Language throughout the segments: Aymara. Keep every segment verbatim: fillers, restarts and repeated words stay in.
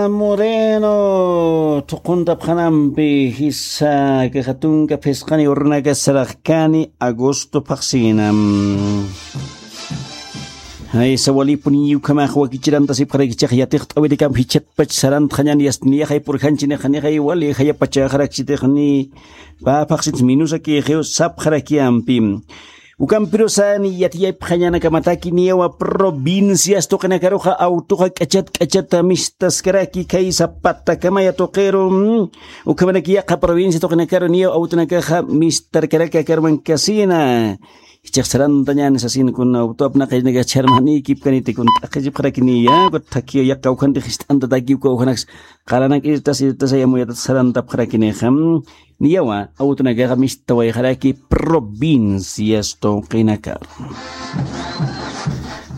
Moreno, thuquntapxanampi jisa, kaxa tunka phisqani urunaka saraqkani agosto phaxsinam. Jaysa walipuniy ukhamax wakichirantasipxarakichix yatixt'awirikamp jichatpach sarantxañan yastiniyaxay purjanchinixa nixay wali jayapachaxaraksitixni pä phaxsits minusakixiw sapxarakiyampi. Ukampirusa ni yatiyapxañanakamataki niyawa provincias tuqinakaruxa awtuxa k'achat k'achata mistaskaraki kay sapatakamaya tuqiru. Ukhamaraki yaqha provincia tuqinakaru niyaw awtunakaxa mistarkaraki akaruman kasina. Jichhax sarantañani sasin kun awtu apnaqaynakax chharmanïkipkaniti kun t'aqhichipxarakiniya ukat thakhiya yaqha ukhanti jist'antatakiw kawkhanaks qalanak irtas irtasay amuyatat sarantapxarakinixa. Niyawa awtunakaxa mistawayxaraki provincias tuqinakar.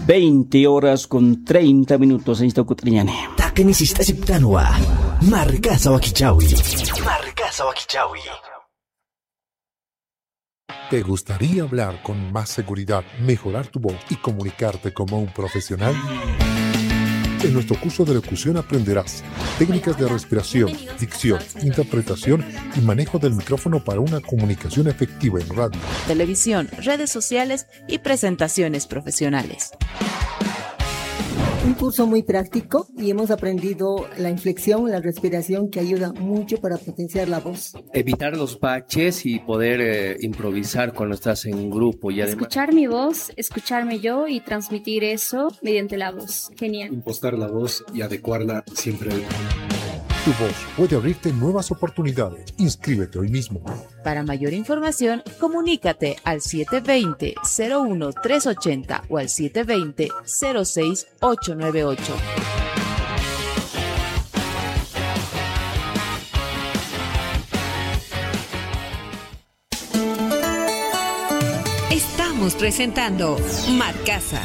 Veinte horas con treinta minutos. Añsta kut'riñani. Taqini sist'asiptanwa. Markasa wakichawi. Markasa wakichawi. ¿Te gustaría hablar con más seguridad, mejorar tu voz y comunicarte como un profesional? En nuestro curso de locución aprenderás técnicas de respiración, dicción, interpretación y manejo del micrófono para una comunicación efectiva en radio, televisión, redes sociales y presentaciones profesionales. Un curso muy práctico y hemos aprendido la inflexión, la respiración que ayuda mucho para potenciar la voz. Evitar los baches y poder, eh, improvisar cuando estás en un grupo y además escuchar mi voz, escucharme yo y transmitir eso mediante la voz. Genial. Impostar la voz y adecuarla siempre. Tu voz puede abrirte nuevas oportunidades. Inscríbete hoy mismo. Para mayor información, comunícate al siete veinte, cero uno, tres ochenta o al siete veinte, cero seis, ocho nueve ocho. Estamos presentando Markasa.